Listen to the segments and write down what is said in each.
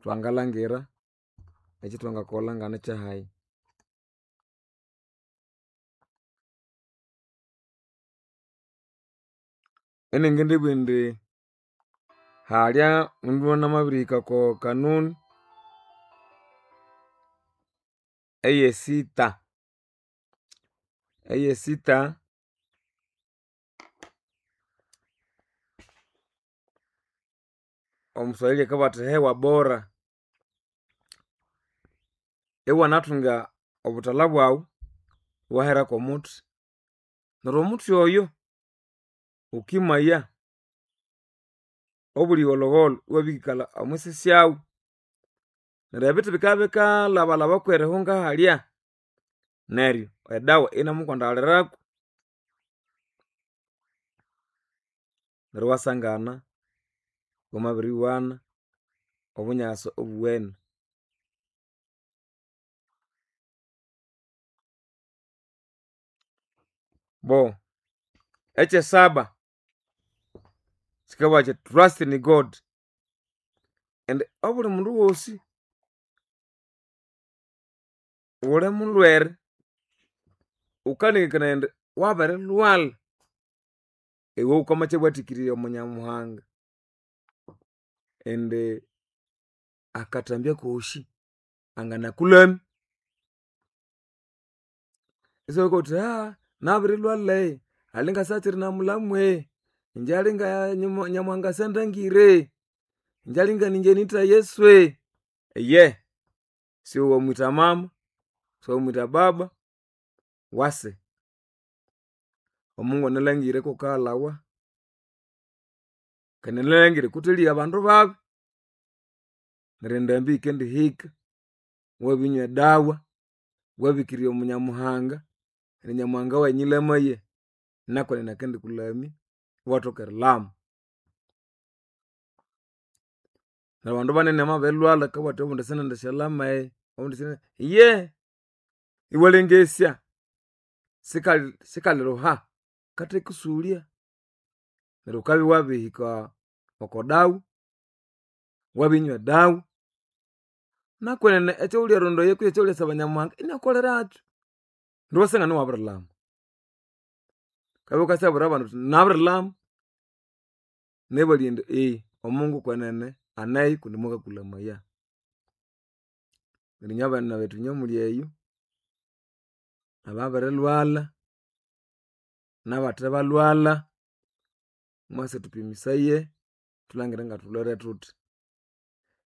Twangalhangira ekyithwangakolha nganekyahayi. Iningindibugha indi halya omundu namabirihika oko kanuni eyesitha, eyesitha omuswahili akabugha athi hewa bora, iwanathunga obuthalha bwaghu iwahera kwomuthi neryo omuthi oyo wukimaya obulhigholhogholho iwabirikalha omwisi syawu neryo ebithi bikabya bikalhabalhaba kwerihunga halya neryo edawa iyinemukwandalirako neryo iwasangana iwamabiriwana obunyasi obuwene. Bo ekyesaba kyikabugha kyithi trust in God indi obuli mundu wosi wuli mulhwere wukalengekanaya indi wabirilhwalha iwe wukamakyabwathikirya omo Nyamuhanga indi akathambya kosi anganakulhamya. Isiwabya wuthi nabirilhwalha alinga sihakyiri namulhamwe ingye alinga Nyamuhanga syandangire ingye alinga ningye nitha Yesu iye siwe wamwitha mama, siwe wamwitha baba wase Omungu analangire kuwukaghalawa kandi analangire kuthaligha abandu babi neryo endambi yikendihika iwabirinywa edawa, iwabikirirya omo Nyamuhanga neryo Nyamuhanga wayi nyilamaye nakwenene akendikulamya iwathoka erilhama. Neryo abandu banene bamabirilhwalha akabugha athi obundi sinendisyalyama obundi sine iye iwalengesya sikali sikaliruha kathekusulya neryo wukabya wabirihika oko dawa wabirinywa edawa nakwenene ekyawulyarondaya kutse ekyawulyasaba Nyamuhanga inyakukolerakyu neryo iwasangana iwabirilhama. Wukabya wukasyabwira abandi wuthi nabirilhama nebalya indi Omungu kwenene aneyo kundi mwakakulamaya. Neryo inywe abana bethu inywe omuli eyo ababirilhwalha nabathebalhwalha mwase thupimisaye thulangire ngathulhwere thuthi.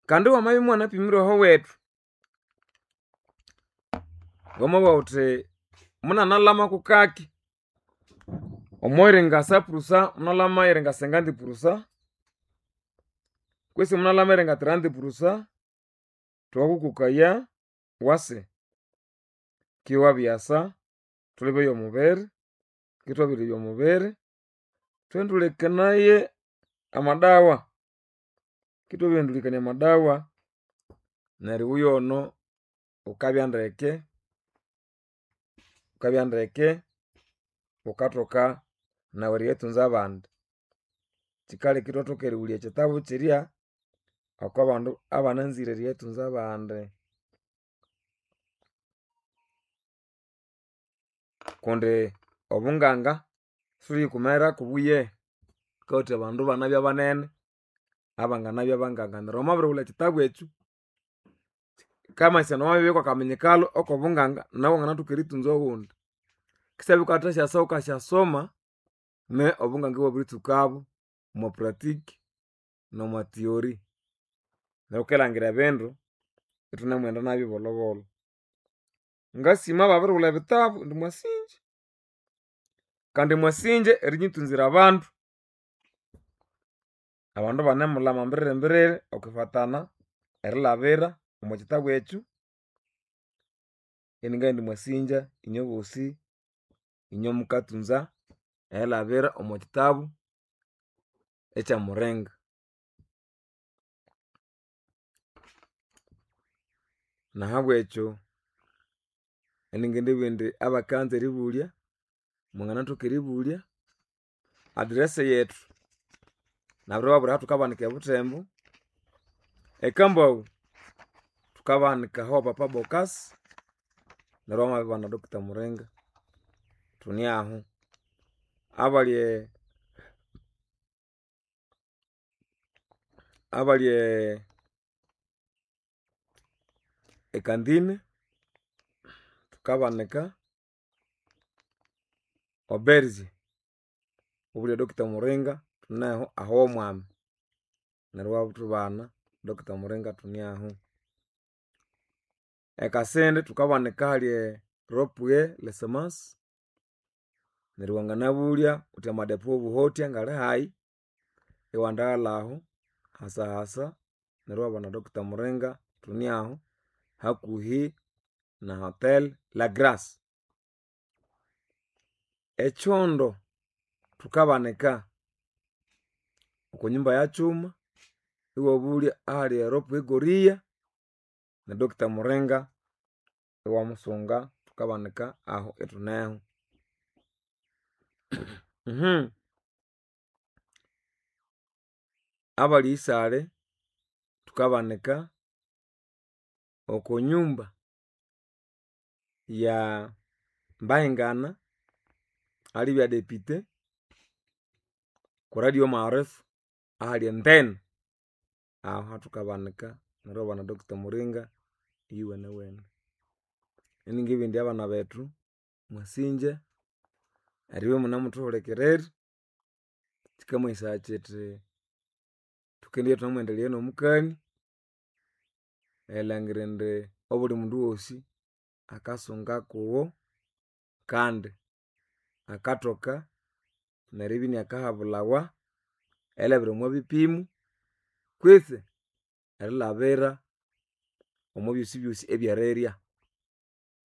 Kandi wamabya imuwanapimira ahowethu wamabugha wuthi munanalhama kukaki omwiringa sapurusa munalhama eringa sengandi purusa kwisi munalhama eringa tirandi purusa thukakukokaya wase ki iwabyasa thulebye omubiri kithwabirilebya omubiri thuthendulekanaye amadawa kithwabirihendulekania amadawa neryo iweyono wukabya ndeke wukabya ndeke wukathoka nawu eriyathunza abandi. Kyikaleka ithwathoka erighulya ekyitabu kyirya okwabandu abananzire eriyathunza abandi. Kundi obunganga sithuliyikumerako kubuye thukawathikaya abandu ibanabya banene abanganabya banganga neryo wamabirighulha ekyitabu ekyu kyikamanyisaya indi wamabibya kwakaminyikalo okobunganga nawu iwanganathoka erithunza owundi. Kisyabya wukathasyasaho wukasyasoma ne obunganga iwabiritsukabo omwa pratique nomwa theory. Neryo wukilangira ebindu ithunemughenda nabyo bolhobolho. Ngasima ababirighulha ebitabu indi mwasinja kandi mwasinja erinyithunzira abandu. Abandu ibanemulhama mbiririmbiriri okwifatana erilhabira omwakyitabu ekyu iningabugha indi mwasinja inywe bosi inywe mukathunza erilhabira omwakyitabu ekyamuringa. Nahabwekyo iningindibugha indi abakanza eribulya mwanganathoka eribulya address yethu nabiribabwira ahathukabanika ebuthembo ekambaghu. Thukabahanika aho Papa Bokasi neryo wamabibana Dr. Muringa thune aho. Abali abali ekandine thukabanika oberge obulya Dr. Muringa thuneho aho omwami neryo iwathubana Dr. Muringa thune aho. Ekasindi thukabanika ahali ropue lesemasi neryo wanganabulya wuthi amadepo wobuhotya ngali hayi iwandaghalhahu hasahasa neryo iwabana Dr. Muringa thune aho hakuhi na hotel La Grace. Ekyondo thukabanika oko nyumba ya kyuma iwabulya ahali eropue goria ne Dr. Muringa iwamusunga thukabanika aho ithuneho. Abali isale thukabanika oko nyumba ya Mbahingana alibya depute ku radio maarifa ahali entene aho hathukabanika neryo iwabana Dr. Muringa iyuwenewene. Iningibindi abana bethu mwasinja eribya imunemuthuhulikirira kyikamanyisaya kyithi thukendibya ithunemwendelea nomukani erilhangira indi obuli mundu wosi akasunga kuwo kandi akathoka neribya inakahabulhawa erilhabira omwa bipimo kwitsi erilhabira omwa byosibyosi ebyerirya.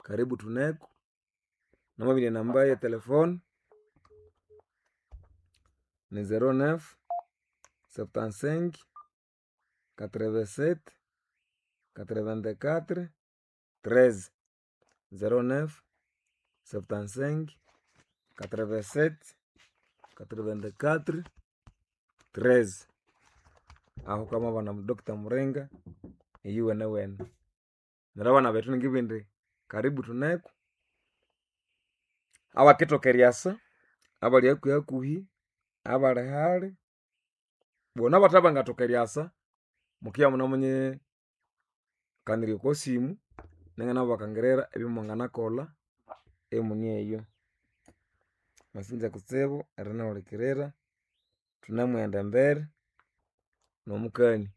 Karibu thuneko namabirya enamba ye telephone ni 09 75 87 84 13 09 75 87 84 13 aho kwamabana Dr. Muringa iyuwenewene. Neryo abana bethu ningibindi karibu thuneko abakithoka eryasa abali hakuhi hakuhi abali hali bona abathe eryasa mukibya munemunyikanirya oko simu ninganabakangira ebyomwanganakolha emuni eyo. Mwasinja kutsibu erinihulikirira thunemughenda embere nomukani.